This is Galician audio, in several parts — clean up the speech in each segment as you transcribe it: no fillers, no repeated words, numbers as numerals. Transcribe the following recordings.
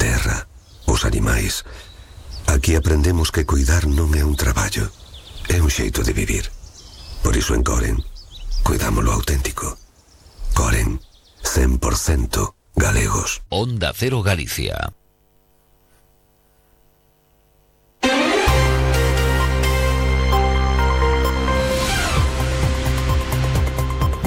terra, os animais. Aquí aprendemos que cuidar non é un traballo, é un xeito de vivir. Por iso en Coren, cuidamos lo auténtico. Coren, 100% galegos. Onda Cero Galicia.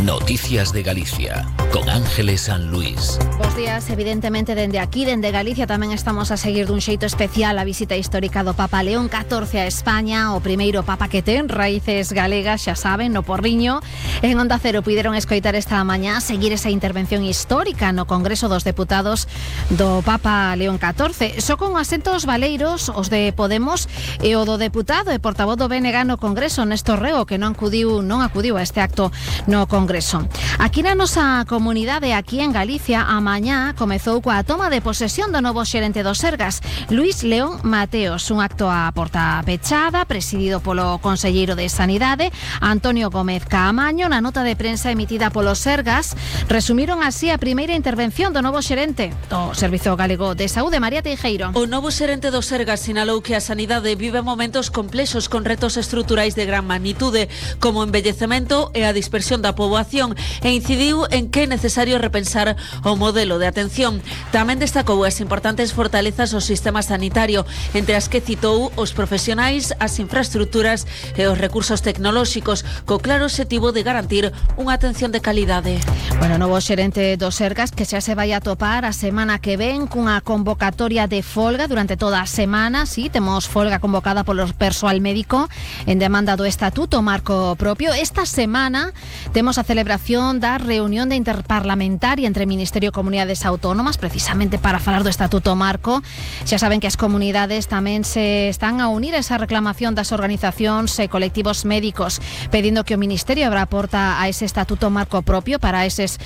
Noticias de Galicia, con Ángeles San Luis. Bos días, evidentemente, dende aquí, dende Galicia, tamén estamos a seguir dun xeito especial a visita histórica do Papa León XIV a España, o primeiro Papa que ten raíces galegas, xa saben, no Porriño. En Onda Cero puideron escoitar esta mañá seguir esa intervención histórica no Congreso dos Deputados do Papa León XIV. Só con asentos valeiros, os de Podemos e o do deputado e portavoz do BNG no Congreso, Néstor Reo, que non acudiu a este acto no Congreso. Aquí na nosa comunidade, aquí en Galicia, a mañá comezou coa toma de posesión do novo xerente do Sergas, Luís León Mateos, un acto a porta pechada, presidido polo conselleiro de Sanidade, Antonio Gómez Caamaño. Na nota de prensa emitida polo Sergas, resumiron así a primeira intervención do novo xerente do Servizo Galego de Saúde, María Teijeiro. O novo xerente do Sergas sinalou que a sanidade vive momentos complexos con retos estruturais de gran magnitude, como o envellecemento e a dispersión da poboación, e incidiu en que é necesario repensar o modelo de atención. Tamén destacou as importantes fortalezas do sistema sanitario, entre as que citou os profesionais, as infraestructuras e os recursos tecnolóxicos, co claro obxectivo de garantir unha atención de calidade. Bueno, o novo xerente do Sergas que xa se vai a topar a semana que ven cunha convocatoria de folga durante toda a semana. Sí, temos folga convocada polo persoal médico en demanda do Estatuto Marco Propio. Esta semana temos a celebración da reunión de interparlamentaria entre Ministerio e Comunidades Autónomas, precisamente para falar do Estatuto Marco. Xa saben que as comunidades tamén se están a unir a esa reclamación das organizacións e colectivos médicos, pedindo que o Ministerio abra a porta a ese Estatuto Marco Propio para estes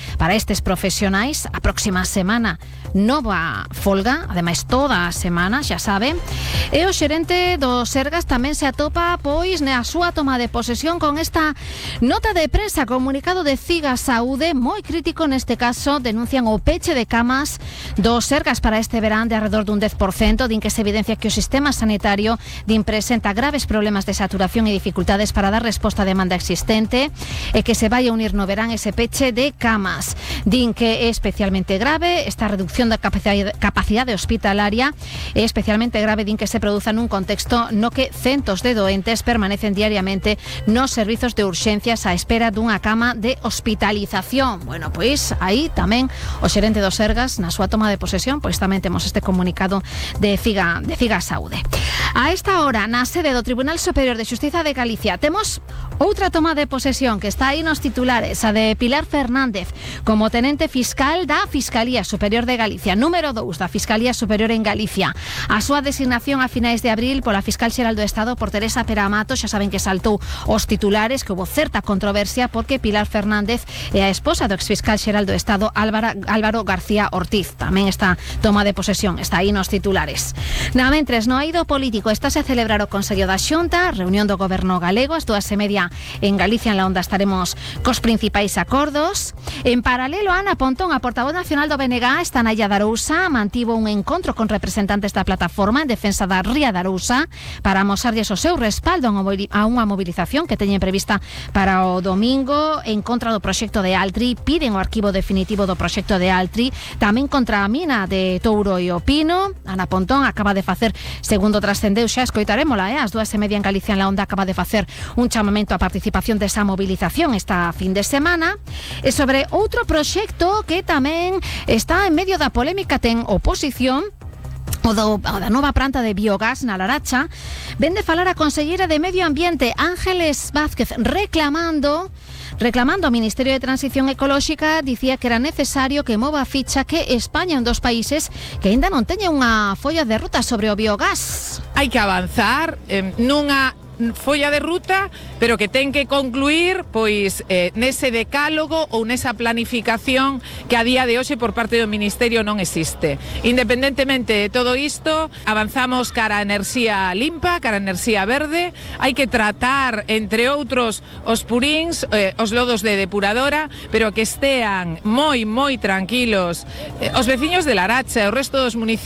profesionais. A próxima semana nova folga, ademais toda a semana, xa saben. E o xerente do Sergas tamén se atopa pois na súa toma de posesión con esta nota de prensa, comunicado de Ciga Saúde, moi crítico neste caso. Denuncian o peche de camas do Sergas para este verán de alrededor dun 10%, din que se evidencia que o sistema sanitario presenta graves problemas de saturación e dificultades para dar resposta á demanda existente, e que se vai a unir no verán ese peche de camas. Din que é especialmente grave esta reducción da capacidade hospitalaria, é especialmente grave, din que se produza nun contexto no que centos de doentes permanecen diariamente nos servizos de urxencias á espera dunha cama de hospitalización. Bueno, pois aí tamén o xerente do Sergas, na súa toma de posesión, pois tamén temos este comunicado de Ciga Saúde. A esta hora, na sede do Tribunal Superior de Xustiza de Galicia, temos outra toma de posesión que está aí nos titulares, a de Pilar Fernández, como tenente fiscal da Fiscalía Superior de Galicia, número 2 da Fiscalía Superior en Galicia. A súa designación a finais de abril pola Fiscal Xeral do Estado por Teresa Peramato, xa saben que saltou os titulares, que houve certa controversia porque Pilar Fernández é a esposa do exfiscal xeral do Estado Álvaro García Ortiz. Tamén esta toma de posesión está aí nos titulares. Na mentres, no eido político estase a celebrar o Consello da Xunta, reunión do Goberno galego, ás 2:30 en Galicia, en la Onda, estaremos cos principais acordos. En paralelo, Ana Pontón, a portavoz nacional do BNG, está na Illa de Arousa, mantivo un encontro con representantes da plataforma en defensa da Ría de Arousa para amosarlles o seu respaldo a unha movilización que teñen prevista para o domingo en contra do proxecto de Altri. Piden o arquivo definitivo do proxecto de Altri, tamén contra a mina de Touro e o Pino. Ana Pontón acaba de facer, segundo trascendeu, xa escoitarémola, ás 2:30 en Galicia, en la Onda, acaba de facer un chamamento a participación desa movilización esta fin de semana. E sobre outro proxecto que tamén está en medio da polémica, ten oposición, o da nova planta de biogás na Laracha. Ven de falar a conselleira de Medio Ambiente, Ángeles Vázquez, reclamando ao Ministerio de Transición Ecolóxica. Dicía que era necesario que mova a ficha, que España é un dos países que aínda non teña unha folla de ruta sobre o biogás. Hai que avanzar nunha folla de ruta, pero que ten que concluir pois nese decálogo ou nesa planificación que a día de hoxe por parte do Ministerio non existe. Independentemente de todo isto, avanzamos cara a enerxía limpa, cara a enerxía verde. Hai que tratar, entre outros, os puríns, os lodos de depuradora, pero que estean moi tranquilos os veciños de Laracha e o resto dos municipios